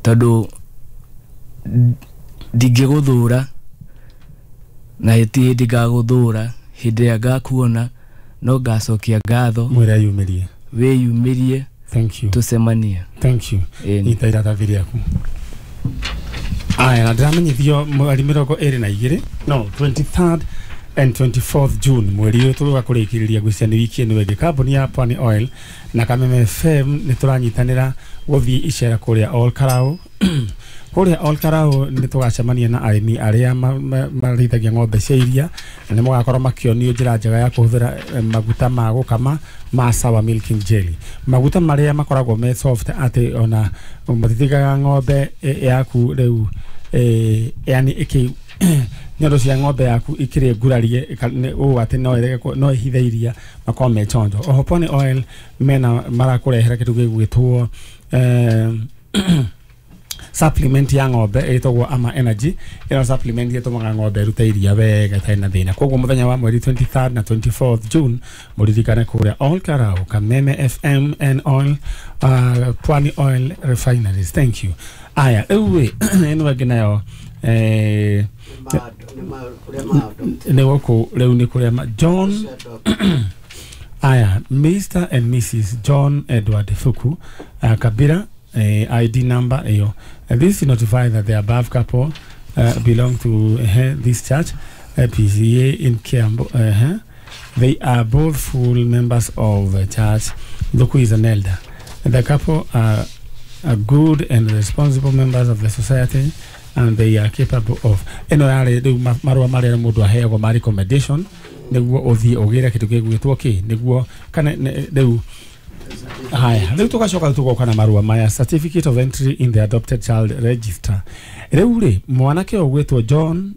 Tondũ ndingĩgũthũra na ti hĩndĩ ngagũthũra. Hĩndĩ ĩrĩa ngakuona no ngacokia ngatho. Mwĩre eyumĩrie. Wĩyumĩrie. Thank you. Tũcemanie. Thank you. Ĩni. Nyita iratathi rĩaku. Aya, na ndĩramenyithio mweri 22, no 23rd and 24th June, mweri ũyũ tũroka kũrĩkĩrĩria gwĩcia nĩ wiki ĩno ĩngĩ, kambuni ya Pwani Oil na Kameme FM nĩ tũranyitanĩra gũthiĩ icera kũrĩa Ol Karau. Kũrĩa Ol Karau nĩ tũgacemania na arĩmi arĩa marĩithagia ng'ombe cia iria, na nĩ mũgakorwo makĩonio njĩra njega ya kũhũthĩra maguta ma gũkama ma Sawa Milking Jelly, maguta marĩa makoragwo me soft atĩ ona matitigaga ng'ombe yaku rĩu yani ĩkĩ nyondo cia ng'ombe yaku ikĩrĩ ngurarie ũũ atĩ no ĩrege no ĩhithe iria, makorwo me chonjo. Oho Pwani Oil mena marakũrehera kĩndũ gĩgwĩtwo supplement ya ng'ombe ĩtagwo Ama Energy. Ĩno supplement ĩtũmaga ng'ombe ĩrute iria wega ĩtarĩ na thĩna. Koguo mũthenya wa mweri 23rd na 24th June mũririkane kũrĩa Ol Karau, Kameme FM and Oil Pwani Oil Refineries. Thank you. Aya, rĩu ĩ ĩno ĩngĩ nayo nĩ gũkũ rĩu nĩ kũrĩa John. Aya, Mr and Mrs John Edward Fuku Kabira, ID number iyo. This is notify that the above couple belong to this church, PCA in Kiambu. They are both full members of the church. Thuku is an elder. The couple are good and responsible members of the society and they are capable of ĩno yarĩ rĩu marũa marĩa mũndũ aheagwo ma recommendation nĩguo ũthiĩ ũgĩre kĩndũ gĩgwĩtwo kĩ nĩguo kana rĩu. Haya, rĩu tũgacoka tũgoka na marũa maya, certificate of entry in the adopted child register. Rĩu rĩ, mwanake ũyũ ũgwĩtwo John.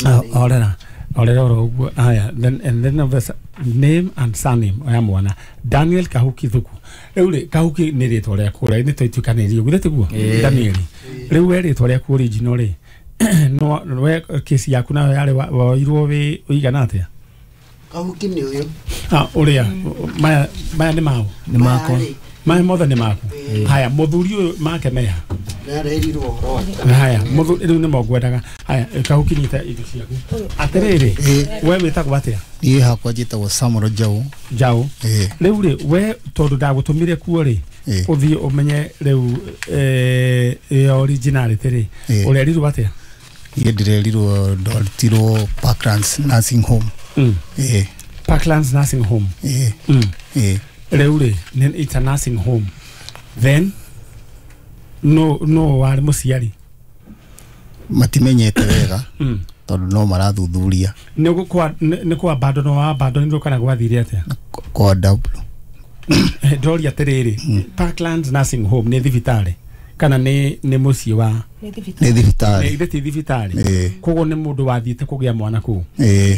Ah, orera orera oro ũguo. Haya, then and then of the name and surname ya mwana, Daniel Kahuki Thuku. Rĩu rĩ, Kahuki nĩ rĩtwa rĩaku ũrĩa nĩ twaituĩkanĩirie, githĩ tiguo? Ĩĩ. Daniel, rĩu we rĩtwa rĩaku original rĩ, no we kesi yaku nayo yarĩ woirwo wĩ ũigana atĩa? Kahuki nĩ ũyũ. Ah, ũrĩa maya maya nĩ mao? Nĩ makwa. Maya mothe nĩ maku. Haya, mũthuri ũyũ make meha? Nĩarerirwo ũhoro wake. Haya, mũthuri rĩu nĩmo ngwendaga. Haya, Kahuki, nyita indo ciaku. Atĩrĩrĩ, we wĩtagwo atĩa? Niĩ hakwa njĩtagwo Samuel Njaũ. Njaũ. Ĩĩ. Rĩu rĩ, we tondũ ndagũtũmire kuo rĩ, ũthiĩ ũmenye rĩu ĩyo originality rĩ, ũrerirwo atĩa? Niĩ ndĩrerirwo ndwarutirwo Parklands Nursing Home. Ĩĩ. Parklands Nursing Home. Ĩĩ. Ĩĩ. Rĩu rĩ, it's a nursing home. Then no warĩ mũciari? Matimenyete wega tondũ no marathuthuria. Nĩ kwa abandon wa abandonirwo kana gwathire atĩa? Kwa W. Ndoria atĩrĩrĩ, Parklands Nursing Home nĩ thibitarĩ kana nĩ mũciĩ wa? Nĩ thibitarĩ. Nĩ ti thibitarĩ? Ĩĩ. Koguo nĩ mũndũ wathiĩte kũgĩa mwana kũu? Ĩĩ.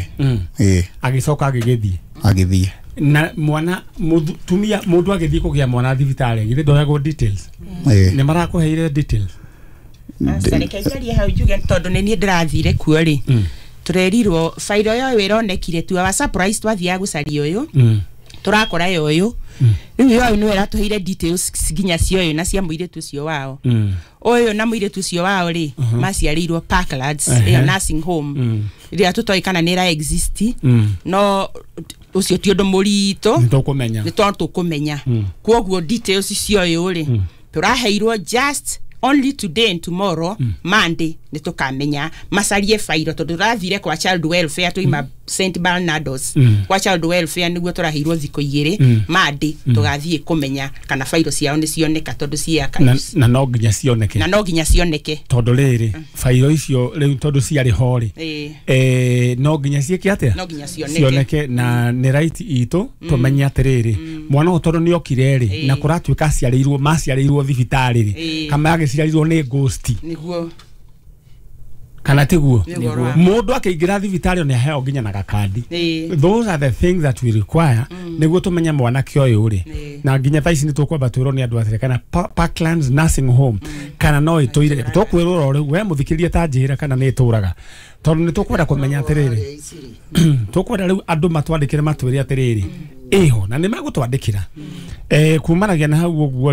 Ĩĩ. Agĩcoka agĩgĩthiĩ? Agĩthiĩ. Na mwana mũtumia, mũndũ agĩthiĩ kũgĩa mwana thibitarĩ, githĩ ndoyagwo details? Ĩĩ. Nĩ marakũheire details? Aca, reke njarie hau njuge tondũ nĩ niĩ ndĩrathire kuo rĩ, tũrerirwo bairo yoyo ĩronekire tu our surprise. Twathiaga gũcaria ũyũ, tũrakora yoyo. Rĩu yoyo nĩwe ĩratũheire details nginya cia ũyũ na cia mũirĩtu ũcio wao. Ũyũ na mũirĩtu ũcio wao rĩ, maciarĩirwo Parklands ĩyo nursing home ĩrĩa tũtoĩ kana nĩ ĩra exist, no ũcio ti ũndũ mũritũ. Nĩ tũkũmenya. Nĩ tondũ tũkũmenya. Koguo details cia ũyũ rĩ, tũraheirwo just only today and tomorrow. Monday nĩ tũkamenya macarie bairo tondũ tũrathire kwa child welfare, tũima St Barnardos kwa child welfare nĩguo tũraheirwo thikũ 2. Monday tũgathiĩ kũmenya kana bairo ciao nĩ cioneka tondũ ciĩ Na, archives. na no nginya cioneke? Na no nginya cioneke. Tondũ rĩrĩ, bairo icio rĩu tondũ ciarĩ ho rĩ, no nginya ciĩke atĩa? No nginya cioneke. Cioneke, na nĩ right itũ tũmenye atĩrĩrĩ, mwana ũyũ tondũ nĩ okire rĩ, na kũratuĩka aciarĩirwo maciarĩirwo thibitarĩ rĩ, kana agĩciarirwo nĩ ghost? Nĩguo. Kana tiguo? Nĩguo ũhoro wa- Mũndũ akĩingĩra thibitarĩ nĩ aheo nginya na gakandi. Those are the things that we require nĩguo tũmenye mwanake ũyũ rĩ. Na nginya thaa ici nĩ tũkwamba twĩrwo nĩ andũ atĩrĩ kana Parklands Nursing Home kana no ĩtũire. Tũkwĩrwo oro rĩu, we mũthikĩrie ta njĩra kana nĩ ĩtũraga, tondũ nĩ tũkwenda kũmenya atĩrĩrĩ, tũkwenda rĩu andũ matwandĩkĩre matwĩre atĩrĩrĩ ĩho, na nĩ megũtwandĩkĩra kumanagia na hau ũguo rĩ.